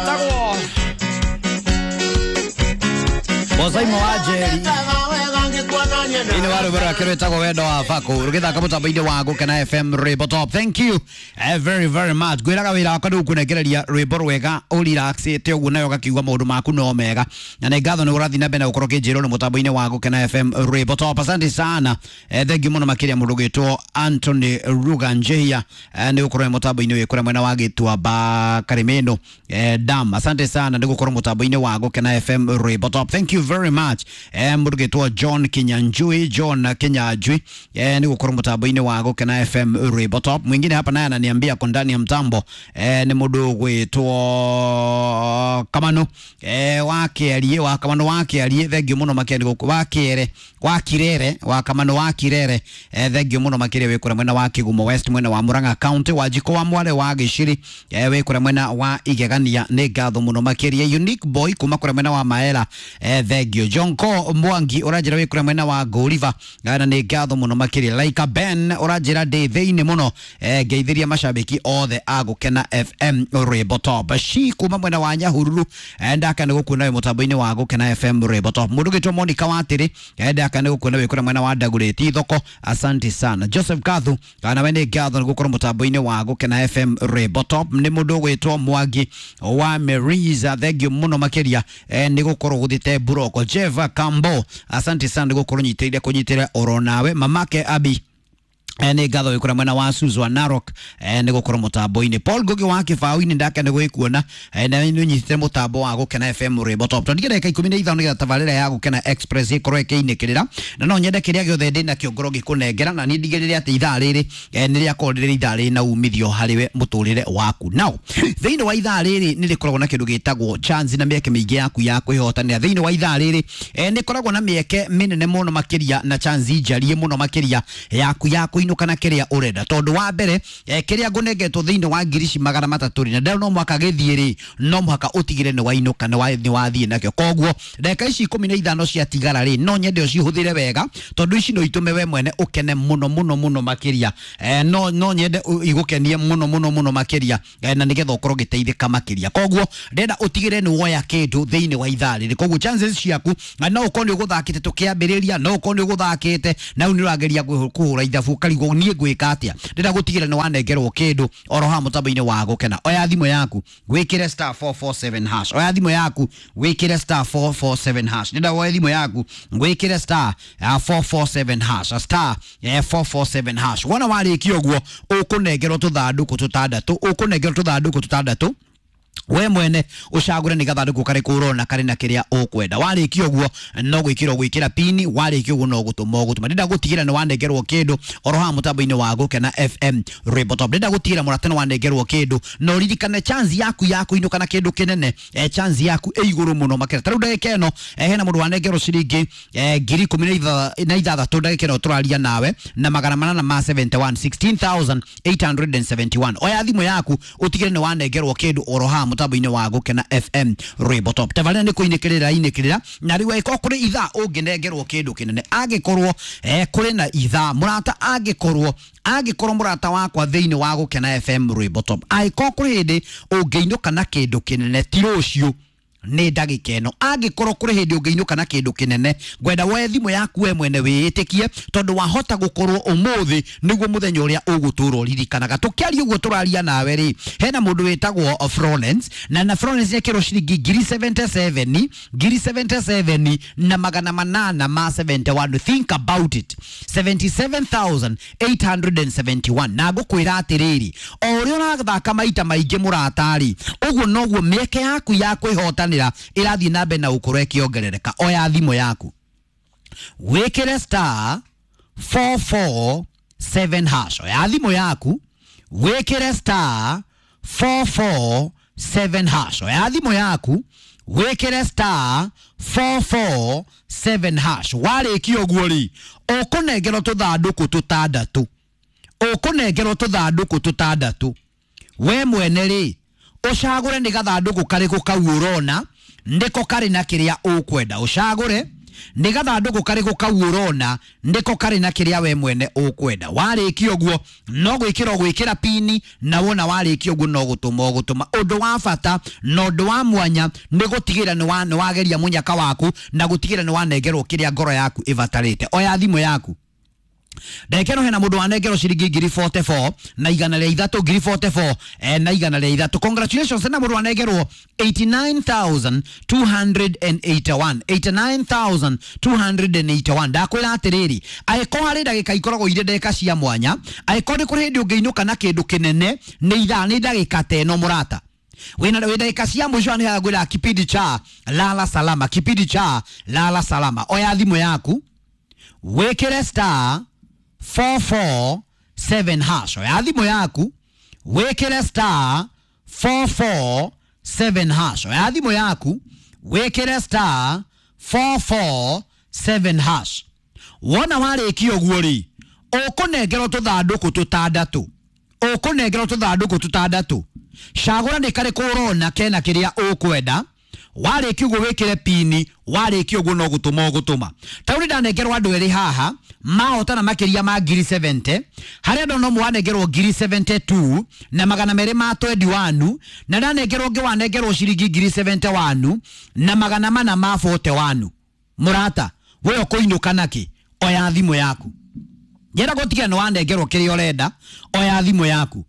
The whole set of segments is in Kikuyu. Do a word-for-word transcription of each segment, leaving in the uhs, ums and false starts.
Wĩtagwo Bosaimo wa Njeri Ini wa rwĩmbo rwake rwĩtagwo Wendo wa Bako rũgĩthaka mũtambo-inĩ wa Gũkena F M Rwĩmbo Top. Thank you eh, very very much. Ngwĩraga wĩra wakwa nĩ gũkũnengereria rwĩmbo rwega ũrelaxĩte ũguo nawe ũgakiuga maũndũ maku no mega, na nĩ ngatho nĩ ũrathiĩ na mbere na gũkorwo ũkĩnjĩrwo nĩ mũtambo-inĩ wa Gũkena F M Rwĩmbo Top. Asante sana eh, thank you mũno makĩria mũndũ ũgwĩtwo Anthony Ruganjehia eh, nĩ gũkorwo mũtambo-inĩ wĩ kũrĩa mwena wa Gĩtuamba Karimeno eh, Dam. Asante sana nĩ gũkorwo mũtambo-inĩ wa Gũkena F M Rwĩmbo Top. Thank you very much eh, mũndũ ũgwĩtwo John Kinyanjui, John Kinyanjui eh, ni gũkorwo mũtambo-inĩ wa Gũkena F M Rwĩmbo Top. Mwingine hapa naye ananiambia ko ndani ya mtambo eh, ni mũndũ ũgwĩtwo Kamano eh, wa Kĩarie, wa Kamano wa Kĩarie, thank you mũno makĩria nĩ gũkũ wa Kĩere, wa Kirere, wa Kamano wa Kirere eh, thank you mũno makĩria wĩ kũrĩa mwena wa Kĩgumo West, mwena wa Murang'a County, wa Njiko wa Mwale wa Gĩciri eh, wĩ kũrĩa mwena wa Igegania, nĩ ngatho mũno makĩria. Unique Boy kuma kũrĩa mwena wa Maela eh, thank you. Jonko Mwangi ũranjĩra wĩ kũrĩa mwena wa Goliva na nĩ ngatho mũno makĩria. Laika Ben ũranjĩra ndĩ thĩinĩ mũno eh, ngeithĩria mashabiki othe a Gũkena F M Rwĩmbo Top. Shi kuma mwena wa Nyahururu eh, ndaka nĩ gũkuona wĩ mũtambo-inĩ wa Gũkena F M Rwĩmbo Top. Mũndũ ũgĩtwo Monica Watĩrĩ eh, ndaka nĩ gũkuona wĩ kũrĩa mwena wa Ndagũrĩti thoko, asante sana. Joseph Kathu kana we nĩ ngatho nĩ gũkorwo mũtambo-inĩ wa Gũkena F M Rwĩmbo Top. Nĩ mũndũ ũgwĩtwo Mwangi wa Meriza, thank you mũno makĩria eh, nĩ gũkorwo gũthĩte Buroko. Jeva Kambo, asante sana nĩ gũkorwo nyitĩrĩire kũnyitĩrĩra oro nawe. Mamake Abi eh, nĩ ngatho wĩ kũrĩa mwena wa Suswa Narok eh, nĩ gũkorwo mũtambo-inĩ. Paul Ngugi wa Kĩbaũ-inĩ ndake nĩ gwĩkuona eh, na nĩ ũnyitĩte mũtambo wa Gũkena F M Rwĩmbo Top. Tondũ ndagĩka ikũmi na ithano nĩgetha tabarĩra ya Gũkena Express ĩkorwo ĩkĩinĩkĩrĩra, na no nyende kĩrĩa gĩothe ndĩ nakĩo ngorwo ngĩkũnengera, na niĩ ndigĩrĩre atĩ ithaa rĩrĩ eh, nĩ rĩakorwo rĩrĩ ithaa rĩna umithio harĩ we mũtũrĩre waku. Now thĩinĩ wa ithaa rĩrĩ nĩ rĩkoragwo na kĩndũ gĩtagwo chance na mĩeke mĩingĩ yaku ya kwĩhotanĩra. Thĩinĩ wa ithaa rĩrĩ eh, nĩ ĩkoragwo na mĩeke mĩnene mũno makĩria na chance njarie mũno makĩria yaku ya kũinũka na kĩrĩa ũrenda, tondũ wa mbere eh, kĩrĩa ngũnengetwo thĩinĩ wa ngiri ici magana matatũ rĩ, na ndĩrona no mũhaka gĩthiĩ rĩ, no mũhaka ũtigĩre nĩ wainũka, nĩ wa-, nĩ wathiĩ nakĩo. Koguo ndagĩka ici ikũmi na ithano ciatigara rĩ, no nyende ũcihũthĩre wega, tondũ ici no itũme we mwene ũkene mũno mũno mũno makĩria eh, no, no nyende igũkenie mũno mũno mũno makĩria eh, na nĩgetha ũkorwo ũgĩteithĩka makĩria. Koguo ndĩrenda ũtigĩre nĩ woya kĩndũ thĩinĩ wa ithaa rĩrĩ. Koguo chances ciaku no ũkorwo nĩ ũgũthakĩte tũkĩambĩrĩria, no ũkorwo nĩ ũgũthakĩte na rĩu nĩ ũrageria kũhũra ithabu ũkarigwo niĩ ngwĩka atĩa. Ndĩrenda gũtigĩra nĩ wanengerwo kĩndũ oro haha mũtambo-inĩ wa Gũkena. Oya thimũ yaku wĩkĩre star four four seven hash. Oya thimũ yaku wĩkĩre star four four seven hash. Ndĩrenda woye thimũ yaku wĩkĩre star four four seven hash, star four four seven hash. Wona warĩkia ũguo ũkũnengerwo tũthandũkũ tũtandatũ, ũkũnengerwo tũthandũkũ tũtandatũ we mwene ucagure ni gathandũkũ karĩkũ ũrona karĩ na kĩrĩa ũkwenda. Warĩkia ũguo no gwĩkĩra ũgwĩkĩra pini, warĩkia ũguo no gũtũma ũgũtũma. Ndĩrenda gũtigĩra nĩ wanengerwo kĩndũ oro haha mũtambo-inĩ wa Gũkena F M Rwĩmbo Top. Ndĩrenda gũtigĩra mũrata nĩ wanengerwo kĩndũ, na ũririkane chance yaku ya kũinũka na kĩndũ kĩnene eh, chance yaku ĩ igũrũ mũno makĩria. Ta rĩu ndagĩka ĩno eh, hena mũndũ wanengerwo ciringi eh, ngiri ikũmi na ithathatũ ndagĩka ĩno tũraria nawe, na magana manana ma seventy one, sixteen thousand eight hundred and seventy one. Oya thimũ yaku ũtigĩre nĩ wanengerwo kĩndũ oro haha mũtambo-inĩ wa Gũkena F M Rwĩmbo Top. Tabarĩra nĩ kũinĩkĩrĩra inĩkĩrĩra, na rĩu angĩkorwo kũrĩ ithaa ũngĩnengerwo kĩndũ kĩnene, angĩkorwo eh, kũrĩ na ithaa mũrata, angĩkorwo angĩkorwo mũrata wakwa thĩinĩ wa Gũkena F M Rwĩmbo Top, angĩkorwo kũrĩ hĩndĩ ũngĩinũka na kĩndũ kĩnene ti rũciũ nĩ ndagĩka ĩno, angĩkorwo kũrĩ hĩndĩ ũngĩinũka na kĩndũ kĩnene, ngwenda woe thimũ yaku we mwene wĩĩtĩkie, tondũ wahota gũkorwo ũmũthĩ nĩguo mũthenya ũrĩa ũgũtũra ũririkanaga. Tũkĩaria ũguo tũraria nawe rĩ, hena mũndũ wĩtagwo Florence, na na Florence nĩekĩrwo ciringi ngiri seventy seven, ngiri seventy seven na magana manana ma seventy one. Think about it, seventy seven thousand eight hundred and seventy one. Na ngũkwĩra atĩrĩrĩ, o ũrĩa ũrathaka maita maingĩ mũrata-rĩ, ũguo noguo mĩeke yaku ya kwĩhotanĩra ĩrathiĩ na mbere na gũkorwo ĩkĩongerereka. Oya thimũ yaku wĩkĩre star four four seven hash. Oya thimũ yaku wĩkĩre star four four seven hash. Oya thimũ yaku wĩkĩre star four four seven hash. Warĩkia ũguo rĩ, ũkũnengerwo tũthandũkũ tũtandatũ, ũkũnengerwo tũthandũkũ tũtandatũ. We mwene rĩ, ũcagũre nĩ gathandũkũ karĩkũ kau ũrona nĩko karĩ na kĩrĩa ũkwenda. Ũcagũre Nĩ gathandũkũ karĩkũ kau ũrona nĩko karĩ na kĩrĩa we mwene ũkwenda. Warĩkia ũguo no gwĩkĩra ũgwĩkĩra pini, na wona warĩkia ũguo no gũtũma ũgũtũma. Ũndũ wa bata na ũndũ wa mwanya nĩ gũtigĩra nĩ wageria mũnyaka waku na gũtigĩra nĩ wanengerwo kĩrĩa ngoro yaku ĩbatarĩte. Oya thimũ yaku. Ndagĩka ĩno hena mũndũ wanengerwo ciringi ngiri forty-four na igana rĩa ithatũ, ngiri forty-four eh, na igana rĩa ithatũ. Congratulations na mũndũ wanengerwo eighty-nine thousand two hundred eighty-one, eighty-nine thousand two hundred eighty-one. Ndakwĩra atĩrĩrĩ, angĩkorwo harĩ ndagĩka ikoragwo irĩ ndagĩka cia mwanya, angĩkorwo nĩ kũrĩ hĩndĩ ũngĩinũka na kĩndũ kĩnene, nĩ ithaa nĩ ndagĩka ta ĩno mũrata. Wĩna ndagĩka cia mũico nĩ ngwĩra kipindi cha lala salama, kipindi cha lala salama. Oya thimũ yaku wĩkĩre star four four seven hash. Oya thimũ yaku wĩkĩre star four four seven hash. Oya thimũ yaku wĩkĩre star four four seven hash. Wona warĩkia ũguo rĩ, ũkũnengerwo tũthandũkũ tũtandatũ, ũkũnengerwo tũthandũkũ tũtandatũ. Cagũra nĩ karĩkũ ũrona kena kĩrĩa ũkwenda. Warĩkia ũguo wĩkĩre pini, warĩkia ũguo no gũtũma ũgũtũma. Ta rĩu ndanengerwo andũ erĩ haha mahotana makĩria ma ngiri seventy, harĩa ndona ũmwe wanengerwo ngiri seventy-two na magana merĩ ma twenty-one, na ndanengerwo ũngĩ wanengerwo ciringi ngiri seventy-one na magana mana ma forty-one. Mũrata, we ũkũinũka nakĩ? Oya thimũ yaku. Njĩra gũtiga nĩ wanengerwo kĩrĩa ũrenda, oya thimũ yaku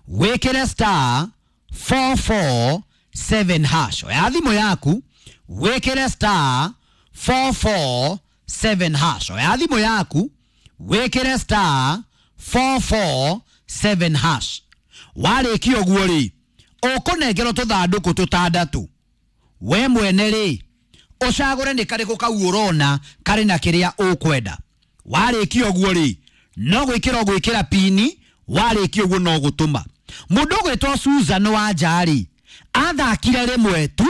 wĩkĩre star four four seven hash. Oya thimũ yaku wĩkĩre star four four seven hash. Oya thimũ yaku wĩkĩre star four four seven hash. Warĩkia ũguo rĩ, ũkũnengerwo tũthandũkũ tũtandatũ. We mwene rĩ, ũcagũre nĩ karĩkũ kau ũrona karĩ na kĩrĩa ũkwenda. Warĩkia ũguo rĩ, no gwĩkĩra ũgwĩkĩra pini, warĩkia ũguo no gũtũma. Mũndũ ũgwĩtwo Susan wa Njari athakire rĩmwe tu,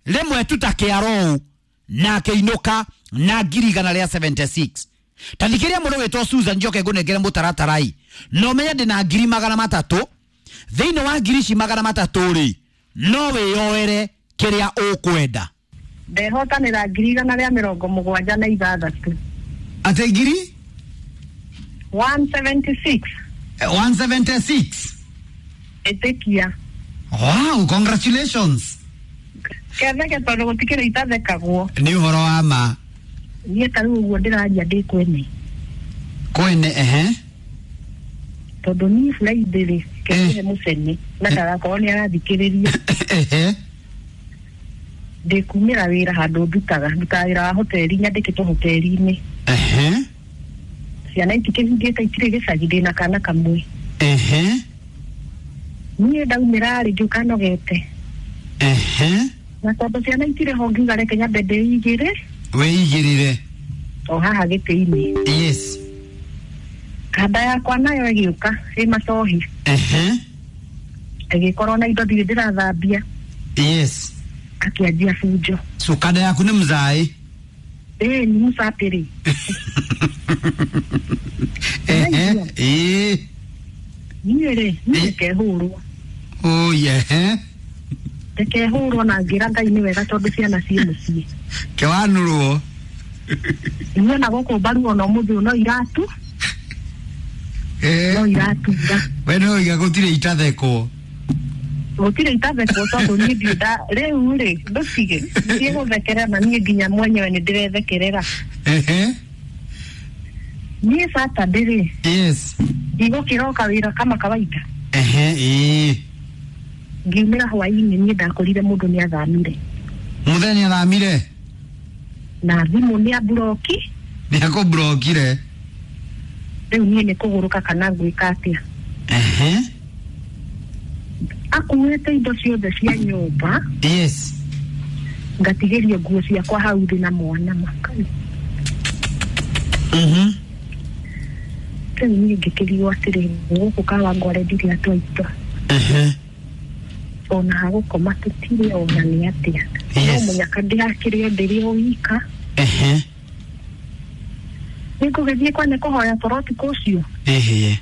rĩmwe tu ta kĩaro, na akĩinũka na ngiri igana rĩa seventy-six. Ta thikĩrĩria mũndũ ũgwĩtwo Susan, njoke ngũnengere mũtaratara-ĩ. No ũmenye ndĩna ngiri magana matatũ. Thĩinĩ wa ngiri ici magana matatũ rĩ, no wĩyoere kĩrĩa ũkwenda. Ndehotanĩra ngiri igana rĩa mĩrongo mũgwanja na ithathatũ. Atĩ ngiri? one seventy-six. one seventy-six. Ĩtĩkia. Wow, congratulations. Ketheke tondũ gũtikĩrĩ itathekagwo. Nĩ ũhoro wa ma. Niĩ ta rĩu ũguo ndĩraria ndĩ kwene. Kwene, ehe. Tondũ niĩ Friday rĩ, ketheke mũcene na ndagakorwo nĩ arathikĩrĩria. Ehe. Ndĩkumĩra wĩra handũ ndutaga, ndutaga wĩra wa hoteli, nyandĩkĩtwo hoteli-inĩ. Ehe. Ciana itikĩhingĩte itirĩ gĩcagi, ndĩna kana kamwe. Ehe. Niĩ ndaumĩra rĩ, ngĩũka nogete. Ehe. Na tondũ ciana itirĩ ho ngiuga reke nyambe ndĩigĩre. Wĩigĩrĩre. O haha gĩtĩ-inĩ. Yes. Kanda yakwa nayo ĩgĩũka ĩ macohi. Ehe. Ĩgĩkorwo na indo ndirĩ ndĩrathambia. Yes. Akĩanjia bunjo. So kanda yaku nĩ mzaĩ? Ĩĩ, nĩ mũcapĩrĩ. Ehe. Ĩĩ. Niĩ rĩ, niĩ ndikehũrwo. Oh yeah. Ndikehũrwo na ngĩra Ngai nĩ wega tondũ ciana ciĩ mũciĩ. Kĩwanũrwo. Niĩ ona gũkũ mbaru ona ũmũthĩ ũyũ no iratu. Eh. No iratura. We no iga gũtirĩ itathekwo. Gũtirĩ itathekwo tondũ niĩ ndirĩ nda rĩu rĩ, ndũtige. Ndiĩ gũthekerera na niĩ nginya mwenyewe nĩ ndĩrethekerera. Ehe. Niĩ Saturday rĩ. Yes. Ndigũkĩroka wĩra kama kawaida. Ehe, ĩĩ. Ngiumĩra hwaĩ-inĩ niĩ ndakorire mũndũ nĩ athamire. Mũthenya athamire? Na thimũ nĩ amburoki. Nĩ akũmburokire. Rĩu niĩ nĩ kũgũrũka kana ngwĩka atĩa. Ehe. Akuĩte indo ciothe cia nyũmba. Yes. Ngatigĩrio nguo ciakwa hau thĩ na mwana makai. Mhm. Rĩu niĩ ngĩkĩrigwo atĩrĩ, gũkũ Kawangware ndirĩ atwaitwa. Ehe. Ona hagũkoma tũtirĩ ona nĩ atĩa. No mũnyaka ndĩrakĩrĩ o ndĩrĩ o wika. Ehe. Nĩngũgĩthiĩ kwa nĩ kũhoya toro ũtukũ ũcio. Ehe.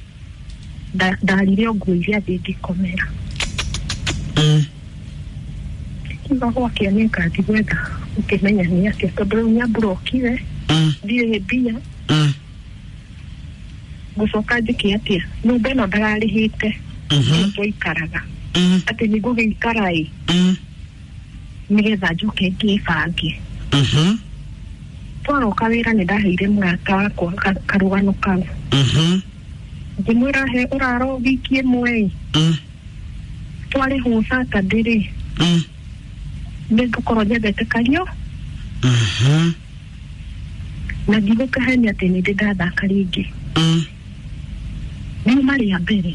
Ndarire o nguo iria thĩ ngĩkomera. Mm. Ngiuga gwakĩa nĩ ngathi gwetha ũkĩmenya nĩ atĩa tondũ rĩu nĩamburokire Mm. ndirĩ mbia Mm. ngũcoka njĩke atĩa nyũmba ĩno ndararĩhĩte Mhm. twaikaraga Mm. atĩ nĩ ngũgĩikara ĩ Mm. nĩgetha njoke ngĩbange Mhm. twaroka wĩra nĩ ndaheire mũrata wakwa ka- karũgano kau Mhm. ngĩmwĩra he ũraro wiki ĩmwe ĩ Mm. twarĩhwo Saturday rĩ Mm. nĩ ngũkorwo nyendete kario Mhm. na ndigũkahenia atĩ nĩ ndĩ ndathaka rĩngĩ Mm. riuma rĩa mbere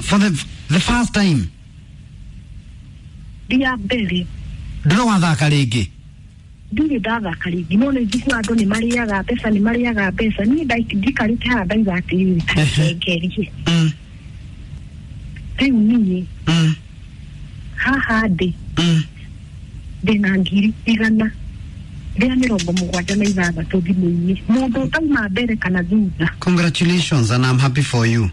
For the the first time rĩa mbere ndũrĩ wathaka rĩngĩ ndirĩ ndathaka rĩngĩ no nĩ njiguaga andũ nĩ marĩaga mbeca nĩ marĩaga mbeca niĩ ndai- njikarĩte haha ndaiga atĩrĩrĩ tacengerie Mm. rĩu niĩ Mm. haha ndĩ Mm. ndĩna ngiri igana rĩa mĩrongo mũgwanja na ithathatũ thimũ-inĩ mũndũ ũtauma mbere kana thutha Congratulations and I'm happy for you.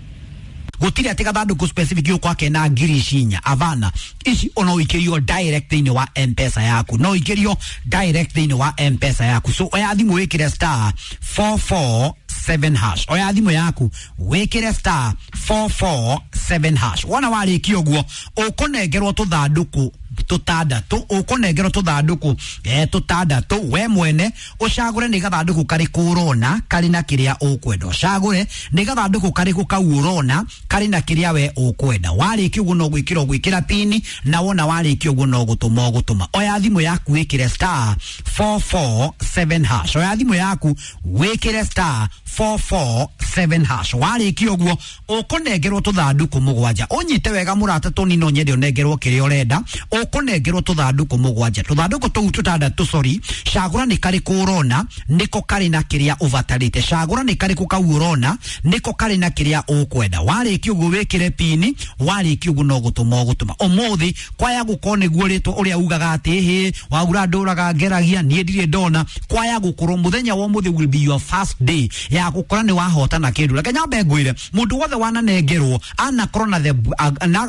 Gũtirĩ atĩ gathandũkũ specific gũkwa kena ngiri ici inya avana ici ono ũikĩrio direct thĩinĩ wa mpesa yaku no ũikĩrio direct thĩinĩ wa mpesa yaku so oya thimũ wĩkĩre star four four seven hash oya thimũ yaku wĩkĩre star four four seven hash wona warĩkia ũguo ũkũnengerwo tũthandũkũ tũtandatũ ũkũnengerwo tũthandũkũ eh, tũtandatũ we mwene ũcagũre nĩ gathandũkũ karĩkũ ũrona karĩ na kĩrĩa ũkwenda ũcagũre nĩ gathandũkũ karĩkũ kau ũrona karĩ na kĩrĩa we ũkwenda warĩkia ũguo no gwĩkĩra ũgwĩkĩra pini na wona warĩkia ũguo no gũtũma ũgũtũma oya thimũ yaku wĩkĩre star four four seven hash oya thimũ yaku wĩkĩre star four four seven hash warĩkia ũguo ũkũnengerwo tũthandũkũ mũgwanja ũnyite wega mũrata tũni no nyende ũnengerwo kĩrĩa ũrenda ũkũnengerwo tũthandũkũ mũgwanja tũthandũkũ tũu tũtandatũ sorry cagũra nĩ karĩkũ ũrona nĩko karĩ na kĩrĩa ũbatarĩte cagũra nĩ karĩkũ kau ũrona nĩko karĩ na kĩrĩa ũkwenda warĩkia ũguo wĩkĩre pini warĩkia ũguo no gũtũma ũgũtũma ũmũthĩ kwaya gũkorwo nĩguo rĩtwa ũrĩa ugaga atĩ hĩ waura ndũraga ngeragia niĩ ndirĩ ndona kwaya gũkorwo mũthenya wa ũmũthĩ will be your first day ya gũkora nĩ wahotana kĩndũ reke nyambe ngwĩre mũndũ wothe wananengerwo anakorwo na the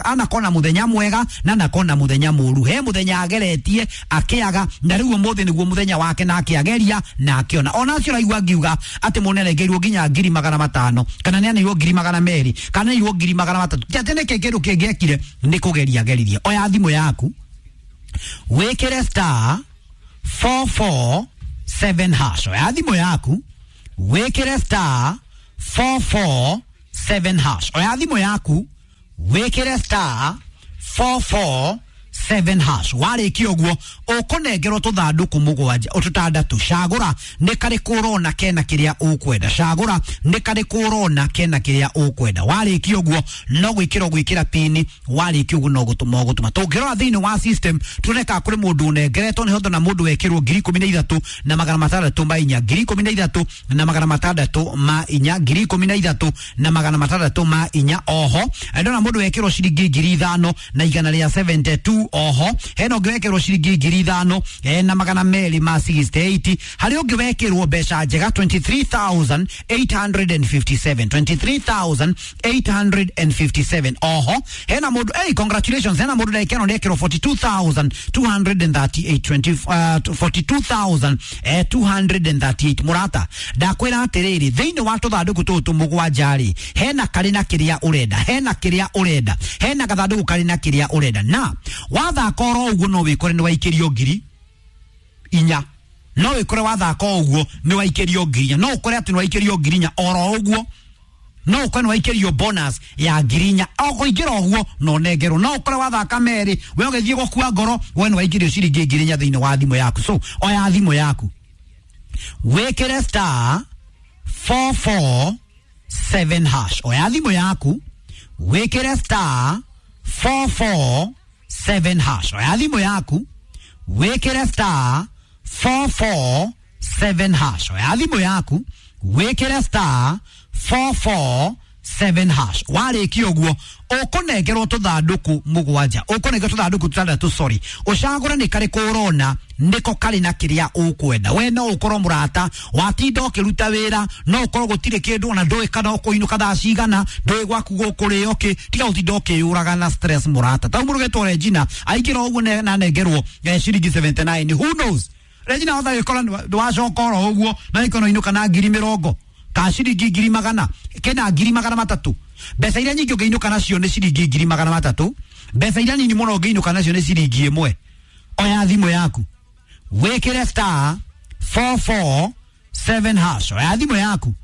anakorwo na mũthenya mwega na anakorwo na mũthenya mũru he mũthenya ageretie akĩaga na rĩu ũmũthĩ nĩguo mũthenya wake na akĩageria na akĩona ona acio raigua ngiuga atĩ mũnenengeirwo nginya ngiri magana matano kana nĩ aneirwo ngiri magana merĩ kana nĩirwo ngiri magana matatũ ti atĩ nĩkĩ kĩndũ kĩngĩ ekire nĩ kũgeria ageririe oya thimũ yaku wĩkĩre star four four seven hash oya thimũ yaku wĩkĩre star four four seven hash oya thimũ yaku wĩkĩre star four four seven hash warĩkia ũguo ũkũnengerwo tũthandũkũ mũgwanja tũtandatũ cagũra nĩ karĩkũ ũrona kena kĩrĩa ũkwenda cagũra nĩ karĩkũ ũrona kena kĩrĩa ũkwenda warĩkia ũguo no gwĩkĩra ũgwĩkĩra pini warĩkia ũguo no gũtũma ũgũtũma tũngĩrora thĩinĩ wa system tuone kana kũrĩ mũndũ ũnengeretwo nĩ hotho na mũndũ wekĩrwo ngiri ikũmi na ithatũ na magana matandatũ ma inya ngiri ikũmi na ithatũ na magana matandatũ ma inya ngiri ikũmi na ithatũ na magana matandatũ ma inya oho ndona mũndũ wekĩrwo ciringi ngiri ithano na igana rĩa seventy two oho hena ũngĩ wekĩrwo ciringi ngiri ithano eh, na magana merĩ ma sixty eight harĩ ũngĩ wekĩrwo mbeca njega twenty three thousand eight hundred and fifty seven twenty three thousand eight hundred and fifty seven oho hena mũndũ hey, congratulations hena mũndũ ndagĩka ĩno nĩekĩrwo forty two thousand two hundred and thirty eight twenty uh, forty two thousand eh, two hundred and thirty eight mũrata ndakwĩra atĩrĩrĩ thĩinĩ wa tũthandũkũ tũtũ mũgwanja rĩ hena karĩ na kĩrĩa ũrenda hena kĩrĩa ũrenda hena gathandũkũ karĩ na kĩrĩa ũrenda na wathaka oro ũguo no wĩkore nĩ waikĩrio ngiri inya no wĩkore wathaka o ũguo nĩ waikĩrio ngiri inya no ũkore atĩ nĩ waikĩrio ngiri inya oro ũguo no ũkore nĩ waikĩrio bonus ya ngiri inya o kũingĩra ũguo no nengerwo no ũkore wathaka merĩ we ũgĩthiĩ gũkua ngoro we nĩ waikĩrio ciringi ngiri inya thĩinĩ wa thimũ yaku so oya thimũ yaku wĩkĩre star four four seven hash oya thimũ yaku wĩkĩre star four four seven hash oya thimũ yaku wĩkĩre star four four seven hash oya thimũ yaku wĩkĩre star four four seven hash. Warĩkia ũguo ũkũnengerwo tũthandũkũ mũgwanja, ũkũnengerwo tũthandũkũ tũtandatũ, sorry, ũcagũre nĩ karĩkũ ũrona nĩko karĩ na kĩrĩa ũkwenda. We no ũkorwo mũrata watinda ũkĩruta wĩra, no ũkorwo gũtirĩ kĩndũ ona ndũĩ kana ũkũinũka thaa cigana, ndũĩ gwaku gũkũrĩo kĩ, tiga gũtinda ũkĩyũraga na stress mũrata. Ta mũndũ ũgetwo Regina aingĩra ũguo ne- na anengerwo eh, ciringi seventy nine, who knows. Regina hota gĩkora ndwacoka oro ũguo na ikono inũka na ngiri mĩrongo ka ciringi ngiri magana kena ngiri magana matatũ. Mbeca iria nyingĩ ũngĩinũka nacio nĩ ciringi ngiri magana matatũ, mbeca iria nini mũno ũngĩinũka nacio nĩ ciringi ĩmwe. Oya thimũ yaku wĩkĩre star four four seven hash. Oya thimũ yaku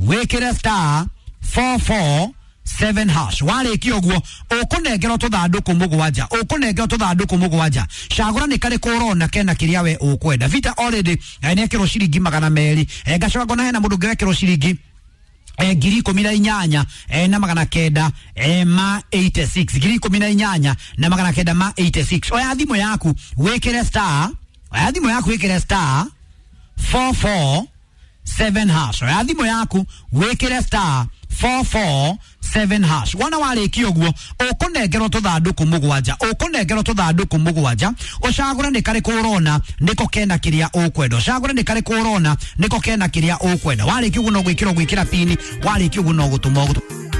wĩkĩre star four four seven hash. Warĩkia ũguo ũkũnengerwo tũthandũkũ mũgwanja, ũkũnengerwo tũthandũkũ mũgwanja, cagũra nĩ karĩkũ ũrona kena kĩrĩa we ũkwenda. Vita already eh, nĩekĩrwo ciringi magana merĩ, eh, ngacoka ngona hena mũndũ ũngĩ wekĩrwo ciringi eh, ngiri ikũmi na inyanya eh, na magana kenda eh, ma eighty six, ngiri ikũmi na inyanya na magana kenda ma eighty six. Oya thimũ yaku wĩkĩre star, oya thimũ yaku wĩkĩre star four four seven hash. Oya thimũ yaku wĩkĩre star four four seven hash. Wona warĩkia ũguo ũkũnengerwo tũthandũkũ mũgwanja, ũkũnengerwo tũthandũkũ mũgwanja, ũcagũre nĩ karĩkũ ũrona nĩko kena kĩrĩa ũkwenda, ũcagũre nĩ karĩkũ ũrona nĩko kena kĩrĩa ũkwenda. Warĩkia ũguo no gwĩkĩra ũgwĩkĩra pini, warĩkia ũguo no gũtũma ũgũtũma.